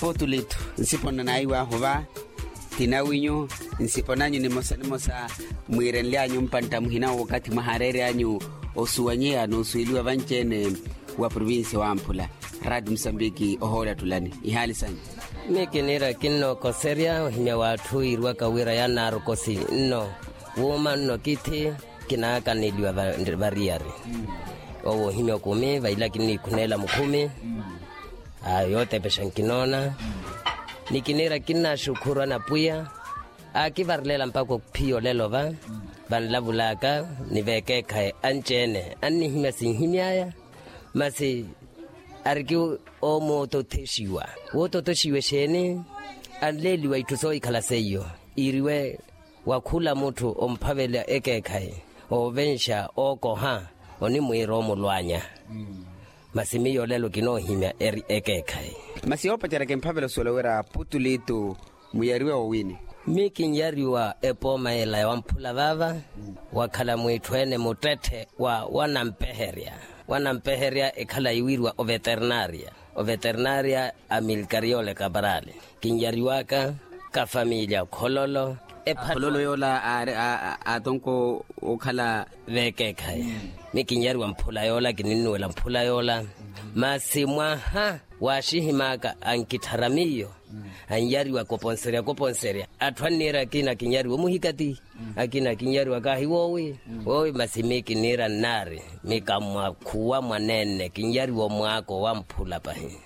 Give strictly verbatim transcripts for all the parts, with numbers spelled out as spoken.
Potulitu, nsipo nnanaiwahu va. Ti nawinyu, nsipo nanyu nimosa nimosa mwiirenlyanyu mpantta muhina wookathi mwahaareeryanyu osuwanyeya n'usuweliwa vanci-ene wa provincia wamphula. Raati musambiki ohoolatulani ihaali sanyu. Miyo kiniira kinnookoserya ohimya w'atthu iiriwaka wira yaanaarokosi nno. Wuuma nno kithi kinaakaneliwa variyari. Owo ohimya okumi vaila kinniikhuneela mukhumi. Yootepexa nkinoona. Ni kiniira kinnaaxukhuru anapwiya. Aakivarelela mpakha ophiya olelo va vanlavulaka ni veekeekhayi anci-ene annihimya sinhimy'aya. Masi ariki oomootothexiwa. Woototoxiwa exeeni? Anleeliwa itthu soohikhala seiyo iiriwe wa khula mutthu omphavela ekeekhayi, oovenxa ookoha, onimwiira omulwanya. Masi miyo olelo kinoohimya eri ekeekhayi. Masi yoopacerya kimphavela osuwela wira putulitu muyariwe owiini? Mi kinyariwa epooma ela ya wamphula vaava. Wakhala mwiitthu-ene muttetthe wa wanampeherya. Wanampeherya ekhala yiwiriwa oveternaria. Oveternaria a milkariole kaparali. Kinyariwaka ka familya khololo. Khololo yoola aatonko okhala vekeekhayi. Mi kinyariwa mphula yoola kininnuwela mphula yoola. Masi mwaha waaxihimaka ankitthara miyo. Anyariwa koponserya koponserya atthu anniira akina kinyariwa omuhikati. Akina kinyariwa kaahi woowi. Woowi masi mi kiniira nnaari. Mi kammwakhuwa mwaneene kinyariwa omwaako wamphula pahi.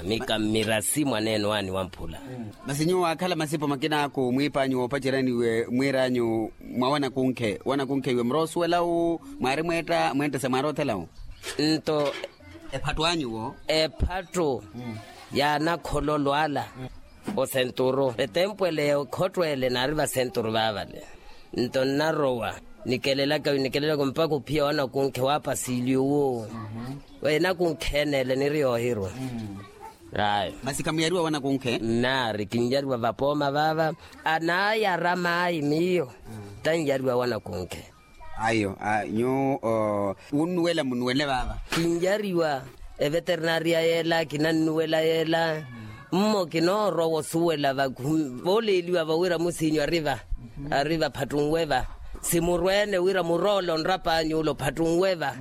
Mi kammirasi mwaneene waani wamphula. Masi nyuwo waakhala masipo makinaaku mwiipanyu woopaceryaniwe mwiiranyu mwa wanakunkhe wanakunkhe iwe muroosuwela wu mwaari mweetta mweettesa mwaari othela wu? Nto ephattu anyu wo ephattu yaanakhololo ala. Osenturu etempu ele ya okhotto ele naari vasenturu vaavale. Nto nnarowa nikelelaka nikelelaka mpakha ophiya wanakunkhe waapasiliyu wu. Enakunkhe ene ele niri yoohirwa. Ayo. Masi khamuyariwa wanakunkhe? Nnaari kinyariwa vapooma vaava. Anaayara maayi miyo. Tannyariwa wanakunkhe. Ayo nyuwo wunnuwela munnuwele vaava. Kinyariwa eveternaria yeela kinannuwela yeela. Mmo kinoorowa osuwela vooleeliwa vawira musinyu ari va ari va phattunwe va. Simurweene wira muroole onrapany'ule ophattunwe va.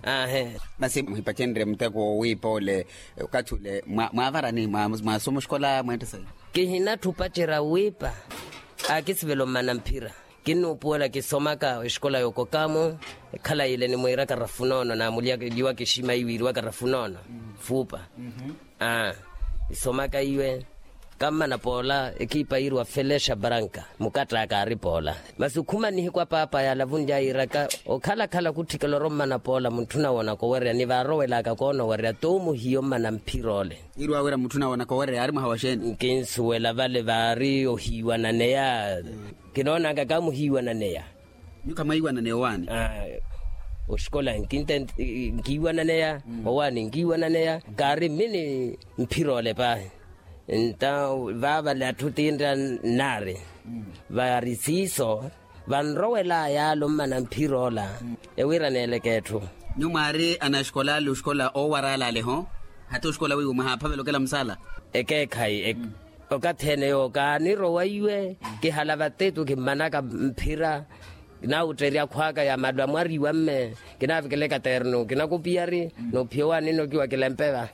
Ahe. Masi muhipacenrye muteko woowiipa ole okathi ule mwaavarani mwaasoma oxikola mweettesa? Kihinatthi opacerya wiipa. Aakisivela ommana mphira. Kinnuupuwela kisomaka exikola y'okokamo. Ekhala yile nimwiiraka rafunoono naamulyiwaka exima iwiiriwaka rafunoono. Fuupa. Kisomaka iwe kammana poola ekiipa yiiriwa felexa branka. Mukatt'aka aari poola. Masi okhuma nihiku apaapa yaalavunlya yiiraka okhalakhala khutthikela orommana poola mutthu nawonaka owereya ni vaarowelaka koonowereya t'omuhiya ommana mphira ole. Yiiriwa wira mutthu nawonaka owereya aari mwaha wa xeeni? Nkinsuwela vale vaari ohiiwananeya. Kinoonaka kaamuhiiwananeya. Nyuwo khamwaiwananeya owaani? Oxikola nkinten nkiiwananeya. Owaani nkiiwananeya. Kaari mmi ni mphira ole paahi. Nta vaavale atthu tintta nnaari. Vaari siiso vanrowelaya ale ommana mphira ola. Ewiiraneeleke etthu. Nyuwo mwaari anaxikola ale oxikola oowarala ale ho? Hata oxikola wiiwo mwahaaphavela okela musaala? Ekeekhayi. Okathi ene yoowo kaanirowa iwe. Kihala vatetu kimmanaka mphira. Kinaawutterya akhw'aka ya malu amwariwa mme. Kinaavikela ekaternu kinakupiyari. Noophiya owaani nnokiwa kilempe va.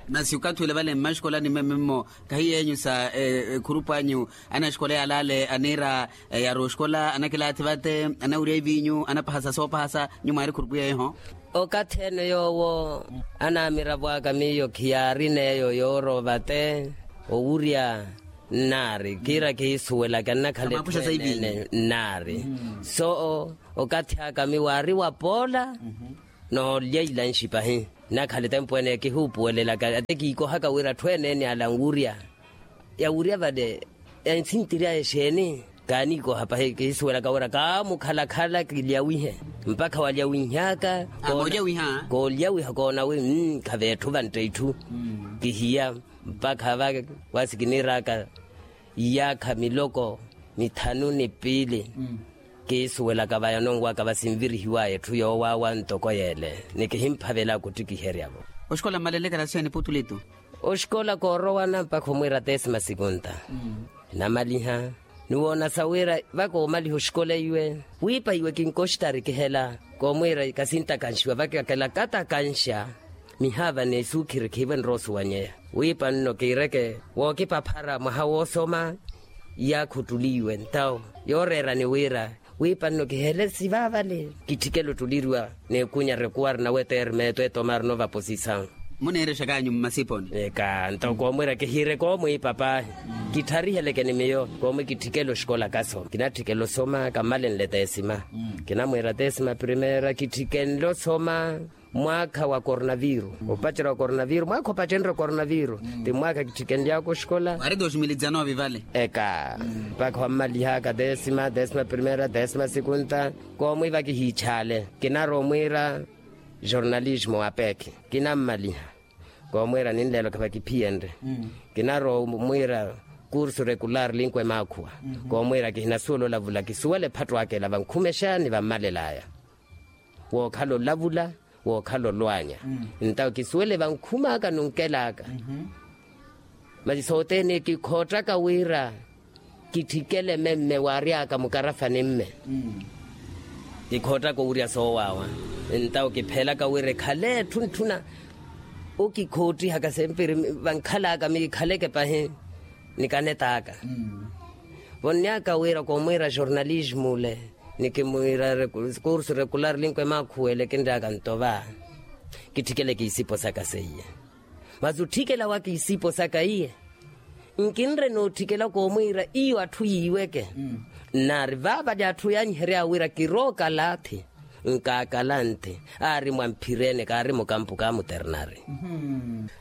Masi okathi ule vale mmaxikolani mmemme mmo kahi yeenyu sa ekhurupu anyu? Anaxikola yaalale aniira yaarowa oxikola anakilaathi vate anawirya iviinyu anapahasa soopahasa nyuwo mwaari khurupu yeeyo ho? Okathi ene yoowo anaamiravo aka miyo khiyaari n'eyo yoorowa vate owurya. Nnaari kiira kihisuwelaka nnakhala etthu ene nnaari. So okathi aka miwaari wapoola noolya ilanxi pahi. Nnakhala etempu ene kihuupuwelelaka ate kiikohaka wira atthu ene ene ala nwurya. Yawurya vale ensintiry'aya exeeni? Kaaniikoha pahi kihisuwelaka wira kaamukhalakhala kilyawihe. Mpakha walyawihaka koolyawiha koonawi. Khaveetthu vantta itthu kihiya. Mpakha va wasi kiniir'aka iyaakha miloko mithanu ni piili. Kiisuwelaka vaya ononwaka vasinvirihiwaya etthu yoowaawa ntoko yeele. Ni kihimphavela kuttikiheryavo. Oxikola mmalelekela xeeni putulitu? Oxikola koorowana mpakha omwiira tesima sikunta. Namaliha. Niwoona sa wira vakoomaliha oxikola iwe wiipa iwe kinkoxitari kihela. Koomwiira ikasintakanciwa vakakela katakanxa. Mihaava n'esuukhiri khiivo enrowa osuwanyeya. Wiipa nno kiireke wookipaphara mwaha woosoma. Iyaakha ottuliiwe ntawo yooreerani wira wiipa nno kihele sivaavale. Kitthikele ottuliriwa n'ekunya rekuwari nawe termeto etomari novaposisawu. Muniirexakanyu mmasiponi? Eka nto koomwiira kihiire koomwiipa paahi. Kitthariheleke ni miyo koomwi kitthikele oxikola kasoma kinatthikele osoma kammalenle tesima. Kinamwiira tesima primeira kitthikenle osoma mwaakha wa coronaviru. Opacerya wa coronaviru mwaakha opacenrye coronaviru ti mwaakha kitthikenly'aka oxikola. Ari dos mil dizanovi vale. Eka mpakha wammalih'aka tesima tesima primeira tesima sikunta. Koomwiiva kihiichale kinarowa omwiira jornalismo wa pekhi. Kinammaliha koomwiira ninleelo khavakiphiyenrye. Kinarowa omwiira kursu rekular linkwe maakhuwa. Koomwiira kihinasuwela olavula kisuwela ephatto aka ela vankhumexa ni vammalel'aya. Wookhala olavula wookhala olwanya. Ntawo kisuwele vankhum'aka nunkel'aka. Masi sothene kikhoottaka wira kitthikele memme waary'aka mukarafani mme. Kikhoottaka owurya soowaawa. Ntawo kiphelaka wira ekhale etthu ntthuna okikhootihaka sempiri vankhal'aka mikikhaleke pahi. Nikanet'aka vonny'aka wira koomwiira jornalismo ole. Nikimwiira kursu rekular linkwe maakhuwele kinry'aka nto va. Kitthikele kiisipo saka seiye. Masi otthikela wa kiisipo saka iye nkinre nootthikela koomwiira iyo atthu yiiweke. Nnaari vaavali atthu yaanyihery'awe wira kirookalaathi. Nkaakalanthi aari mwamphirene kaari mukampu kaamuternari.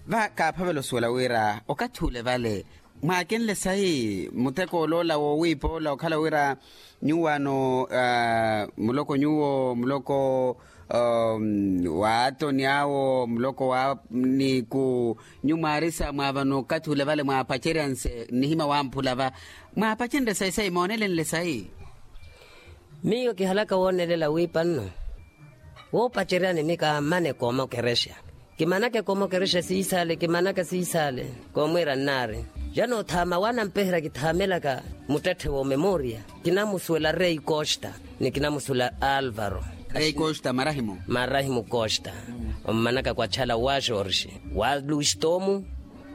Va kaaphavela osuwela wira okathi ole vale mwaakenle sayi mutheko oloola woowiipa ola okhala wira nyuwo ano muloko nyuwo muloko wa atoni awo muloko wa niku nyuwo mwaarisa mwaavana okathi ole vale mwaapaceryanse nnihima wamphula va mwaapacenrye sayi sayi moonelenle sayi. Miyo kihalaka woonelela wiipa nno woopaceryani ni kaamane kooma okerexa. Kimanaka ekooma okerexa siisale kimanaka siisale. Koomwiira nnaari jano othaama waanampeherya kithaamelaka muttetthe woomemoria. Kinamusuwela rei costa ni kinamusuwela alvaro. Rei costa marahimu marahimu costa. Ommanaka kwatxala wa xorxi wa luxitomu.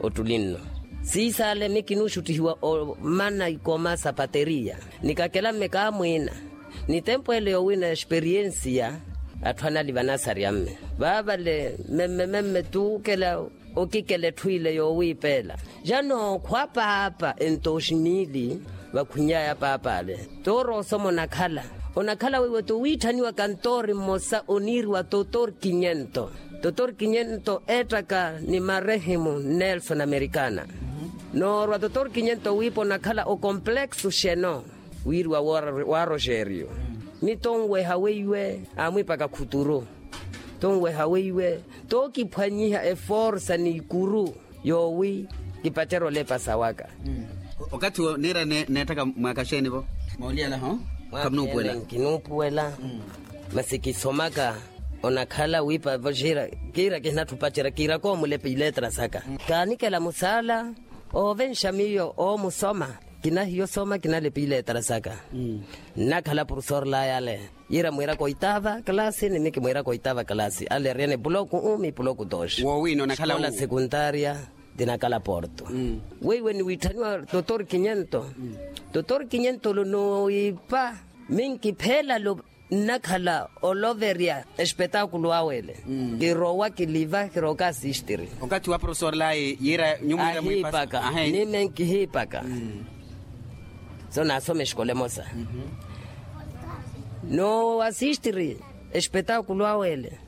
Ottuli nno siisale mikinuxuttihiwa omana ikooma sa pateriya. Nikakela mme kaamwiina ni tempu ele yoowina experiensiya. Atthu anali vanasari amme vaavale memme memme tuukela okikela etthu ile yoowiipeela. Jano khwa paapa entoxinili vakhwiny'aya paap'ale tooro osoma onakhala onakhala weiwo towiitthaniwa kantoori mmosa oniiriwa totori kinyento. Totori kinyento eettaka ni marehimu nelson amerikana. Noorwa totori kinyento wiipa onakhala okompleksu xeno wiiriwa wa roxeriyo. Ni tonweha weiwe aamwiipaka khuturu tonweha weiwe tookiphwanyiha eforsa ni ikuru yoowi kipacerya olepa sawaka. Okathi wo niira neettaka mwaaka xeeni-vo? Mooliyala-ho. Khamunuupuwela nkinuupuwela masi kisomaka onakhala wiipa-vo xiira kiira kihinatthi opacerya kiiraka omulepa iletra saka. Kaanikela musaala oovenxa miyo oomusoma kinahiya osoma kinalepa iletra saka. Nnakhala profesor layale yiira mwiiraka oitaava kalasi ni mikimwiiraka oitaava kalasi ale eriyana epuloku umi epuloku doxi. Woowina onakhala xikola sekuntaria tinakhala porto. Weiwe niwiitthaniwa totori kinyento totori kinyento lo noowiipa minkipheelalo nnakhala oloverya espetaakulu awe ele. Kirowa kiliva kiroka asistiri. Okathi wa profesor layi yiira nyumwiira mwiipaka. Nime nkihiipaka so naasoma exikola emosa. Noowasistiri espetaakulu awe ele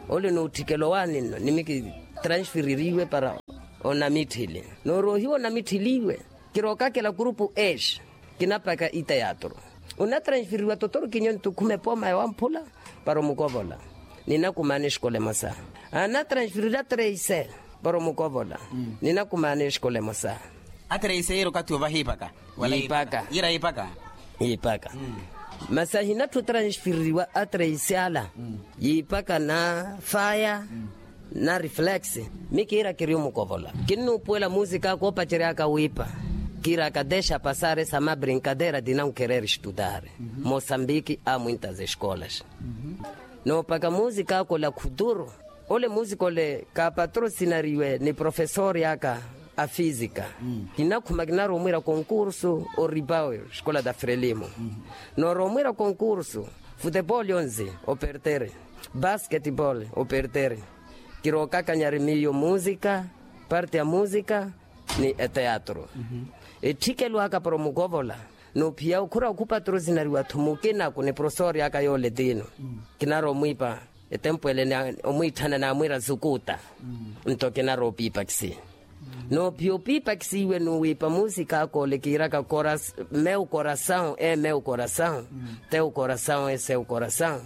ole nootthikela owaani nno nimi kitransfeririwe para onamitthili noorohiwa onamitthiliwe. Kirookakela kurupu ex kinapaka iteatro. Onatransferiwa totori kinyento khume pooma yawamphula para omukovola. Ninakumaana exikola emosa anatransferira trese para omukovola. Ninakumaana exikola emosa. Atrese yiira okathi ovahiipaka? Yiipaka. Yiira yiipaka. Yiipaka. Masi ahinatthu otransfereriwa atrese ala yiipaka na faya. Na reflex, mi kiira kiri omukovola. Kinnuupuwela musikaka oopaceryaka wiipa. Kiiraka dexa pasar esa ma brincadeira di nau kereri estudar. Mosambiki a muintas escolas. Noopaka musikaka ola khuturu. Ole musikaka ole kaapatrosinariwe ni profesori aka a fisika. Kinakhuma kinaromwira konkursu oripau escola da frelimo. Noromwira konkursu, futepoli onzi operteri, basketpoli operteri. Kirookakanyari miyo musika, parte ya musika ni eteatru. Etthikelo aka para omukovola, noophiya okhura okhupatrosinariwa-tho mukinaku ni profesori aka yoole tino. Kinaromwiipa etempu ele ni omwiitthana naamwiira zukuta. Nto kinaroopiipakisi. Noophiya opiipakisiwe nuwiipa musikaka ole kiiraka meu korasawu e meu korasawu, teu korasawu e seu korasawu.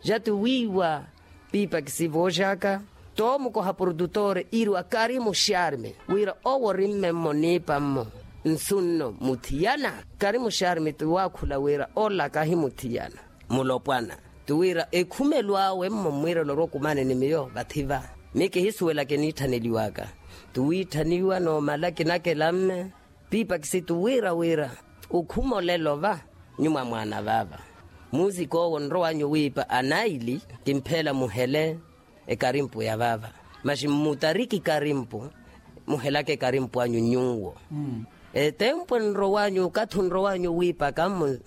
Jati wiiwa piipakisi vooxaka, toomukoha purututore iiriwa karimu xarmi, wira owo ori mme mmo niipa mmo. Nsu nno muthiyana. Karimu xarmi ti waakhula wira olaka ahimuthiyana. Mulopwana. Ti wira ekhumelo awe mmo mmwiirelo orokumani ni miyo vathi va. Mi kihisuwelaka eniitthaneliwaka. Ti wiitthaniwa noomala kinakela mme. Piipakisi ti wira wira okhuma olelo va nyuma mwaana vaava. Musikoowo nrow'anyu wiipa anaili kimpheela muhele ekarimpu ya vaava. Maxi mmutariki karimpu muhelaka ekarimpu anyu nyuwo. Etempu enrow'anyu okathi onrow'anyu wiipaka mmo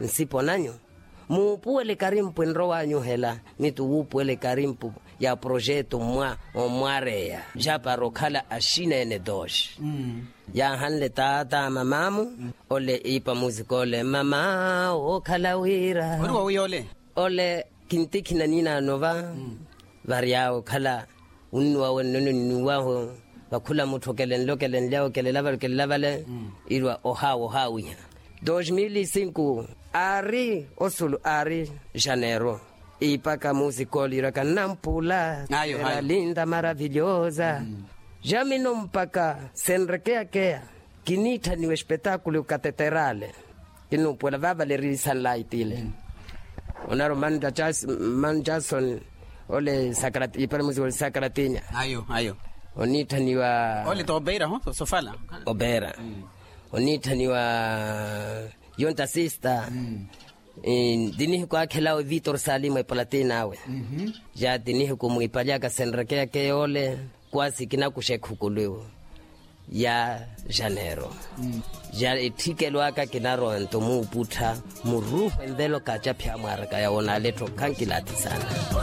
nsipo nanyu. Muupuwele ekarimpu enrow'anyu hela. Mitu wuupuwele ekarimpu ya projetu mmwa omwareya. Jaapara okhala axina ene doxi. Yaahanle taata mamaamu. Ole iipa musika ole mama wookhala wira. Ori wawiyole. Ole kintikhina ninaano va. Varyawe okhala unnuwawe nnono nnuwaho. Vakhula mutthu okelenle okelenlyawe okelela vale okelela vale. Irwa ohaawa ohaawiha. Dos mil e cinco aari osulu aari janeiro. Iipaka musika ole iraka nnampula. Ayo ayo. Era linda maravilhosa. Jamino mpaka senrekeyakeya. Kiniitthaniwa espetakulo kateterale. Kinnuupuwela vaavale eri sanlaiti ile. Onaro manjason ole sakrati ipale musika ole sakratinya. Ayo ayo. Oniitthaniwa ole ti opeira ho sofala. Opeira. Oniitthaniwa yonta sista. Ti nihiku aakhelawe vitor salimu epalatina awe. Ja ti nihiku mwiipalyaka senrekeyakeya ole kwasi kinakuxa ekhukulu ya janeiro. Ja etthikelo aka kinarowa nto muuputtha muruuhu envelo kaacaphi amwaaraka yawo naalettho khankilaati saana.